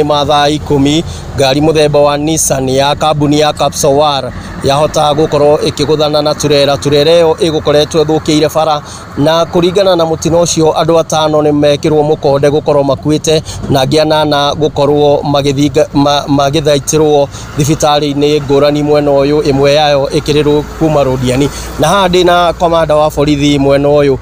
Ma thaa 10 ngari mũthemba wa Nissan ya kambuni ya Kapsowar yahota gũkorwo ĩkĩgũthana na turera. Turera ĩyo ĩgũkoretwo ĩthũkĩire bara, na kũringana na mũtino ũcio andũ 5 nĩ mekĩrwo mũkonde gũkorwo makuĩte na angĩ 8 gũkorwo magĩthaitĩrwo thibitarĩ-inĩ ngũrani mwena ũyũ, ĩmwe yayo ĩkĩrĩrwo kuma Rũdiani. Na haha ndĩna komanda wa borithi mwena ũyũ,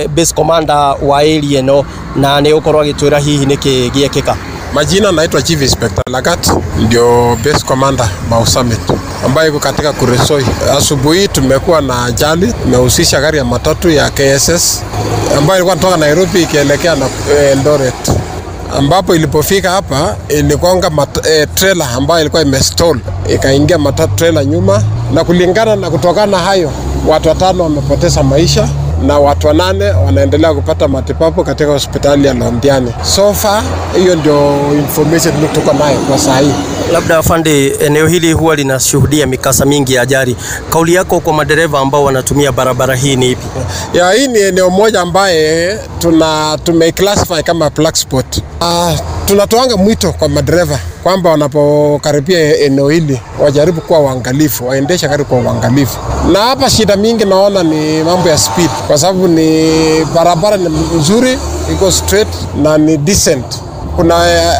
base commander wa area ĩno, na nĩ ũkorwo agĩtwĩra hihi nĩkĩ gĩekĩka. Majina naitwa Chief Inspector Lagat, ndio base commander Mau Summit ambayo iko katika Kuresoi. Asubuhi tumekuwa na ajali imehusisha gari ya matatu ya KSS ambayo ilikuwa inatoka Nairobi ikielekea na Eldoret, ambapo ilipofika hapa iligonga trailer ambayo ilikuwa imestall, ikaingia matatu trailer nyuma, na kulingana na kutokana hayo watu 5 wamepoteza maisha na watu 8 wanaendelea kupata matibabu katika hospitali ya Londiani. So far hiyo ndio information tuko nayo kwa saa hii. Labda afande, eneo hili huwa linashuhudia mikasa mingi ya ajali. Kauli yako kwa madereva ambao wanatumia barabara hii ni ipi? Ya, hii ni eneo moja ambaye tumeclassify kama black spot. Tunatoanga mwito kwa madereva kwamba wanapokaribia eneo hili wajaribu kuwa waangalifu, waendeshe gari kwa uangalifu. Na hapa shida mingi naona ni mambo ya speed, kwa sababu ni barabara ni nzuri, iko straight na ni decent. Kuna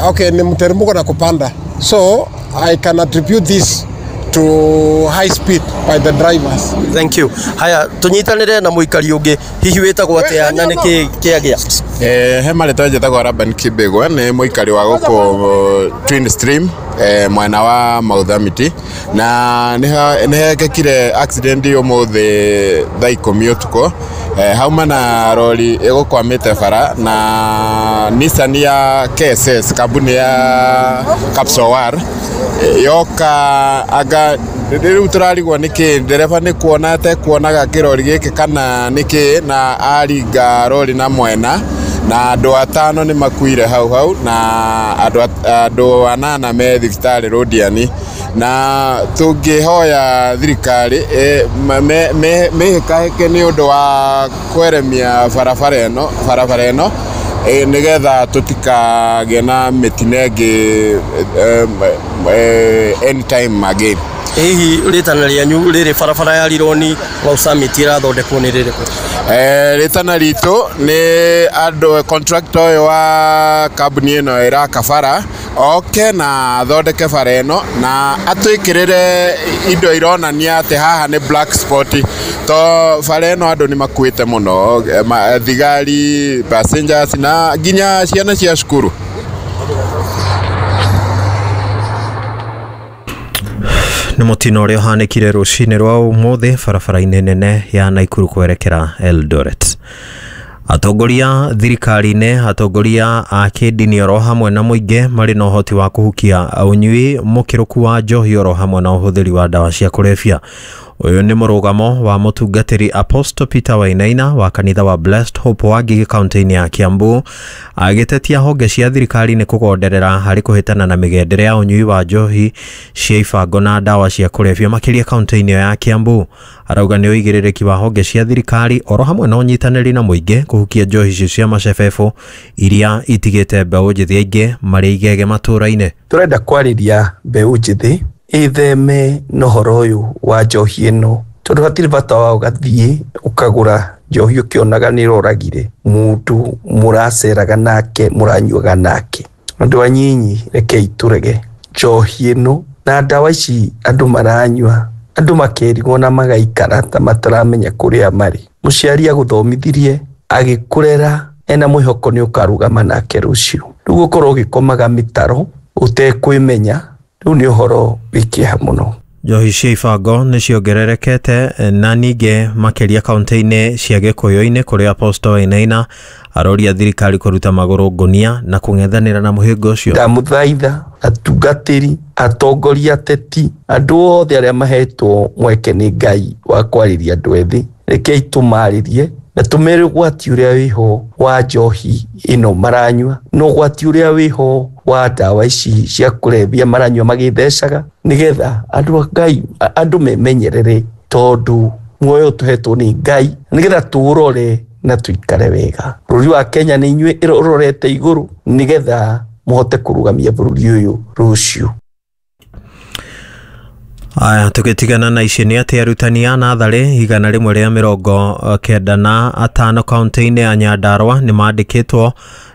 okay, ni mteremko na kupanda. So I can attribute this to high speed by the drivers. Thank you. Haya, tunyitanire na muikari ungi, hihi witagwo atia na niki kiagia? He marĩtwa njĩtagwo Laban Kibegwa, nĩ mũikari wa gũkũ Twin Stream, mwena wa Mau Summit, na nĩ hekĩkire accident ũmũthĩ thaa 10 ũtukũ. Hauma na rori ĩgũkwamĩte bara na Nissan ya KSS, kambuni ya Kapsowar, yoka anga rĩu tũrarigwo nĩkĩ ndereba nĩ kuona atekuonaga kĩrori gĩkĩ kana nĩkĩ, na aringa rori na mwena, na andũ 5 nĩ makuire hau hau na andũ 8 me thibitarĩ Rũdiani. Na tũngĩhoya thirikari mĩhĩkahĩke nĩ ũndũ wa kweremia barabara ĩno nĩgetha tũtikagĩe na mĩtino ĩngĩ anytime again. Hihi rĩtana rĩanyu rĩrĩ barabara ya Rironi Mau Summit ĩrathondekwo nĩ rĩrĩkũ? Rĩtana ritũ nĩ andũ contractor ũyũ wa kambuni ĩno ĩraka bara oke na athondeke bara ĩno na atwĩkĩrĩre indo ironania atĩ haha nĩ black spot, to bara ĩno andũ nĩ makuĩte mũno, thigari, passengers na nginya ciana cia cukuru. Nĩ mũtino ũrĩa ũhanĩkire rũcinĩ rwa ũmũthĩ barabara-inĩ nene ya Naikuru kwerekera Eldoret. Atongoria thirikari-inĩ, atongoria a kĩndini oro hamwe na mũingĩ marĩ na ũhoti wa kũhukia ũnyui mũkĩrũku wa njohi oro hamwe na ũhũthĩri wa ndawa cia kũrebia. Ũyũ nĩ mũrũgamo wa mũtungatĩri Apostle Peter Wainaina wa kanitha wa Blessed Hope wa Ngigĩ kaunti-inĩ ya Kiambu, agĩtetia honge cia thirikari nĩ kũgonderera harĩ kũhĩtana na mĩgendere ya ũnyui wa njohi cia ibango na ndawa cia kũrebia makĩria kaunti-inĩ ya Kiambu. Arauga nĩ ũigĩrĩrĩki wa honge cia thirikari oro hamwe na ũnyitanĩri na mũingĩ kũhukia njohi icio cia macebebo iria itigĩte mbeũ njĩthĩ aingĩ marĩ igege matũũra-inĩ. Tũrenda kwarĩria mbeũ njĩthĩ itheme na ũhoro ũyũ wa njohi ĩno, tondũ hatirĩ bata wa ũgathiĩ ũkagũra njohi ũkĩonaga nĩ ĩroragire mũndũ mũraceraga nake mũranyuaga nake. Andũ anyinyi, rekei tũrege njohi ĩno na ndawa ici andũ maranyua, andũ makerigwo na magaikara ta mataramenya kũrĩa marĩ. Mũciari agũthomithirie agĩkũrera ena mwĩhoko nĩ ũkarũgama nake rũciũ, rĩu ũkorwo ũgĩkomaga mĩtaro ũtekwĩmenya, rĩu nĩ ũhoro wĩ kĩeha mũno. Njohi cia ibango nĩ ciongererekete na ningĩ makĩria kaunti-inĩ cia Gĩkũyũ-inĩ kũrĩa Apostle Wainaina aroria thirikari kũruta magũrũ ngũnia na kũng'ethanĩra na mũhĩnga ũcio. Ndamũthaitha atungatĩri, atongoria, ateti, andũ othe arĩa mahetwo mweke nĩ Ngai wa kwarĩria andũ ethĩ, rekei tũmarĩrie na tũmere ũgwati ũrĩa wĩho wa njohi ĩno maranyua na ũgwati ũrĩa wĩho wa ndawa ici cia kũrebia maranyua magĩthecaga, nĩgetha andũ a Ngai, andũ memenyerere, tondũ muoyo tũhetwo nĩ Ngai, nĩgetha tũũrore na tũikare wega. Bũrũri wa Kenya nĩ inyuĩ ũrorete igũrũ, nĩgetha Mũhote kũrũgamia bũrũri ũyũ rũciũ. Aya, tũgĩtigana na ici nĩ atĩ arutani a natharĩ 195 kaunti-inĩ ya Nyandarua nĩ mandĩkĩtwo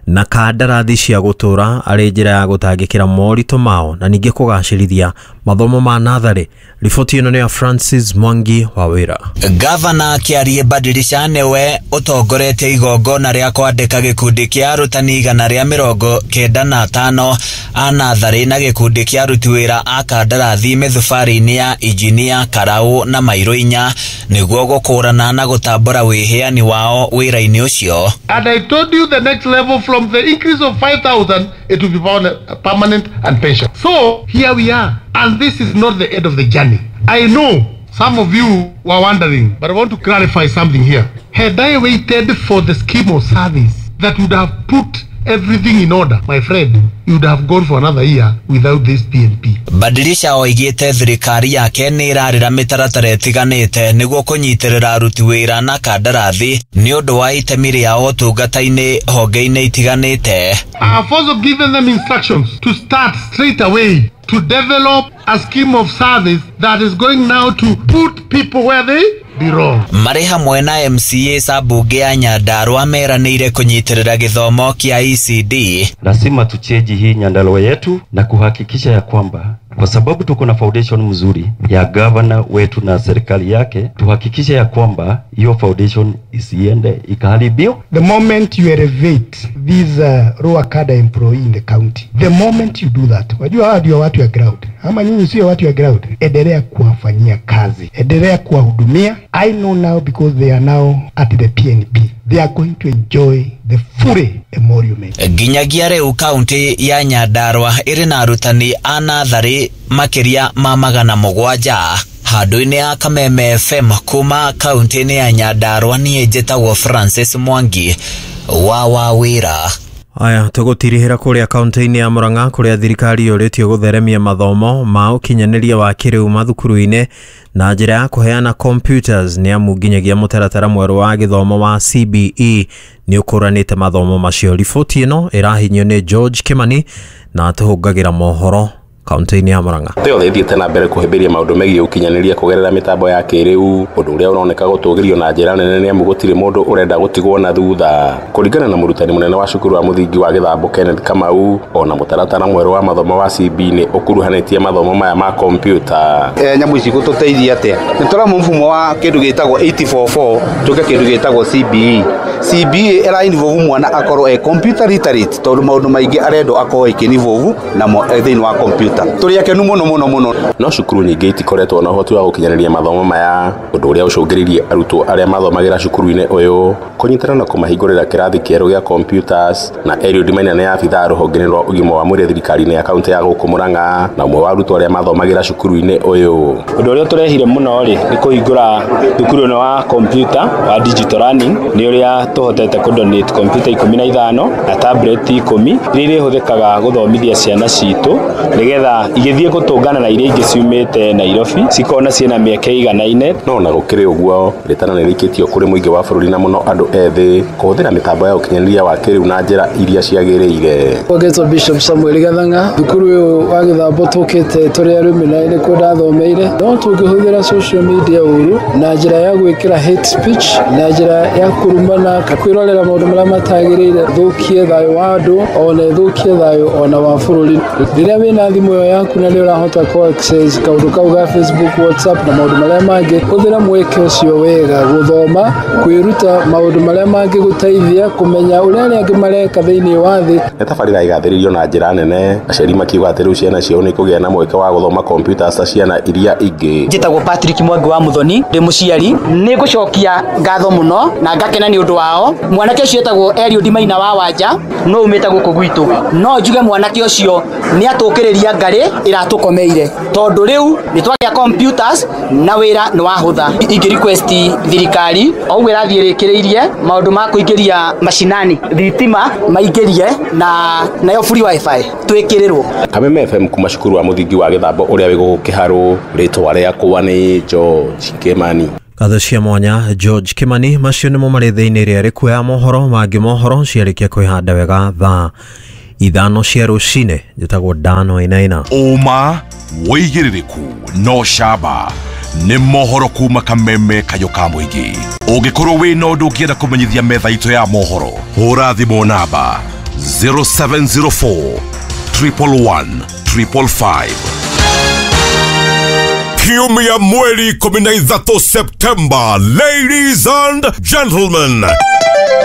na kandarathi cia gũtũra arĩ njĩra ya gũtangĩkĩra moritũ mao na ningĩ kũgacĩrithia mathomo ma natharĩ. Riboti ĩno nĩ ya Francis Mwangi wa wĩra. Gavana Kĩarie Badilisha nĩwe ũtongoretie igongona rĩa kwandĩka gĩkundi kĩa arutani 195 a natharĩ na gĩkundi kĩa aruti wĩra a kandarathi mĩthubarĩ-inĩ ya injinia Karau na Mairũ inya nĩguo gũkũrana na gũtambũra wĩheani wao wĩra-inĩ ũcio. And I told you the next level from the increase of 5,000 it will be permanent and pension. So here we are, and this is not the end of the journey. I know some of you were wondering, but I want to clarify something here. Had I waited for the scheme of service that would have put everything in order, my friend, you would have gone for another year without this PNP. Badilisha oigĩte thirikari yake nĩ ĩrarĩra mĩtaratara ĩtiganĩte nĩguo kũnyitĩrĩra aruti wĩra na kandarathi nĩ ũndũ wa itemi rĩao ũtungata-inĩ honge-inĩ itiganĩte. I have also given them instructions to start straight away to develop a scheme of service that is going now to put people where they belong. Marĩ hamwe na MCA Sabunge ya Nyandarua meranĩire kũnyitĩrĩra gĩthomo kĩa ECD. Lazima tucheji hii Nyandarua yetu na kuhakikisha ya kwamba kwa sababu tuko na foundation mzuri ya governor wetu na serikali yake, tuhakikishe ya kwamba hiyo foundation isiende ikaharibiwa. The moment you elevate these lower cadre employee in the county, the moment you do that, wajua hawa ndio watu ya ground, ama nyinyi sio watu ya ground, endelea kuwafanyia kazi, endelea kuwahudumia. I know now because they are now at the PNP, they are going to enjoy the full emolument. Nginyagia rĩu kaunti ya Nyandarua ĩrĩ na arutani a natharĩ makĩria ma 700. Handũ-inĩ ya Kameme FM kuma kaunti-inĩ ya Nyandarua, niĩ njĩtagwo Francis Mwangi wa Wawĩra. Aya, tũgũtirihĩra kũrĩa kaunti-inĩ ya Murang'a kũrĩa thirikari yũrĩtio gũtheremia mathomo ma ũkinyanĩria wa kĩrĩu mathukuru-inĩ na njĩra ya kũheana computers nĩ amu nginyagia mũtaratara mwerũ wa gĩthomo wa CBE nĩ ũkũranĩte mathomo macio. Riboti ĩno ĩrahinyio nĩ George Kimani na atũhũngagĩra mohoro kaunti-inĩ ya Murang'a. Thĩ yothe ĩthiĩte na mbere kũhĩmbĩria maũndũ megiĩ ũkinyanĩria kũgerera mĩtambo ya kĩrĩu, ũndũ ũrĩa ũroneka gũtũgĩrio na njĩra nene nĩ amu gũtirĩ mũndũ ũrenda gũtigwo na thutha. Kũringana na mũrutani mũnene wa cukuru wa mũthingi wa Gĩthambo Kenneth Kamau, ona mũtaratara mwerũ wa mathomo wa CB nĩ ũkuruhanĩtie mathomo maya ma kompiuta. Nyamũ ici gũtũteithia atĩa? Nĩ tũramu mfumo wa kĩndũ gĩtagwo 844 tũke kĩndũ gĩtagwo CBE. CBE ĩra involve mwana akorwo e computer literate tondũ maũndũ maingĩ arendwo akorwo ĩkĩ involve namo thĩinĩ wa computer. Tũrĩ akenu mũno mũno mũno. No cukuru nyingĩ itikoretwo na ũhoti wa gũkinyanĩria mathomo maya, ũndũ ũrĩa ũcũngĩrĩirie arutwo arĩa mathomagĩra cukuru-inĩ ũyũ kũnyitana na kũmahingũrĩra kĩrathi kĩerũ gĩa computers. Na Eliud Maina nĩ abithaa rũhonge-inĩ rwa ũgima wa mwĩrĩ thirikari-inĩ ya kaunti ya gũkũ Murang'a na ũmwe wa arutwo arĩa mathomagĩra cukuru-inĩ ũyũ. Ũndũ ũrĩa tũrehire mũno rĩ nĩ kũhingũra thukuru ĩno wa computer wa digital learning, nĩ ũrĩa tũhotete kũ donate computer 15 na tablet 10 iria irĩhũthĩkaga gũthomithia ciana citũ nĩgetha igĩthiĩ gũtũngana na iria ingĩ ciumĩte Nairobi cikona ciĩna mĩeke iganaine. No ona gũkĩrĩ ũguo, rĩtana nĩ rĩikĩtio kũrĩ mũingĩ wa bũrũri na mũno andũ ethĩ kũhũthĩra mĩtambo ya ũkinyanĩria wa kĩrĩu na njĩra iria ciagĩrĩire. Ũgetwo Bishop Samuel Gathanga, thukuru ũyũ wa Gĩthambo tũkĩte tũrĩ arũme na nĩkuo ndathomeire. No tũngĩhũthĩra social media ũru na njĩra ya gwĩkĩra hate speech, na njĩra ya kũrumana, kwĩrorera maũndũ marĩa matagĩrĩire, thũkie thayũ wa andũ ona ĩthũkie thayũ ona wa bũrũri. Rĩrĩa wĩna thimũ ĩyo yaku na nĩ ũrahota kũ access kaũndũ kau ga Facebook, WhatsApp na maũndũ marĩa mangĩ, hũthĩra mweke ũcio wega gũthoma, kwĩruta maũndũ marĩa mangĩgũteithia kũmenya ũrĩa arĩa angĩ mareka thĩinĩ wa thĩ. Nĩ tabarĩra ĩgathĩrĩirio na njĩra nene, aciari makiuga atĩ rĩu ciana ciao nĩ ikũgĩa na mweke wa gũthoma kompiuta ta ciana iria ingĩ. Njĩtagwo Patrick Mwangi wa Muthoni, ndĩ mũciari. Nĩ ngũcokia ngatho mũno na ngakena nĩ ũndũ wao. Mwanake ũcio etagwo Eliud Maina wa Wanja, no umĩte gũkũ gwitũ. No njuge mwanake ũcio nĩ atũkĩrĩria ngarĩ ĩratũkomeire, tondũ rĩu nĩ twagĩa computers na wĩra nĩ wahũtha. Ingĩ request thirikari o ũguo ĩrathiĩ ĩrĩkĩrĩirie maũndũ ma kũingĩria macinani thitima maingĩrie na nayo free wifi twĩkĩrĩrwo. Kameme FM kuma cukuru wa mũthingi wa Gĩthambo ũrĩa wĩ gũkũ Kĩharũ, rĩtwa rĩakwa nĩ George Kimani. Ngatho cia mwanya George Kimani. Macio nĩmo marĩ thĩinĩ rĩa rĩkuoya mohoro mangĩ mohoro ciarĩkia kwĩhanda wega thaa 5 cia rũcinĩ. Njĩtagwo Dan Wainaina. Ũma wĩigĩrĩrĩku no camba nĩ mohoro kuma Kameme kayũ ka mũingĩ. Ũngĩkorwo wĩna ũndũ ũngĩenda kũmenyithia metha itũ ya mohoro, hũra thimũ namba 0704 111 555. Kiumia mweri 13 September, ladies and gentlemen.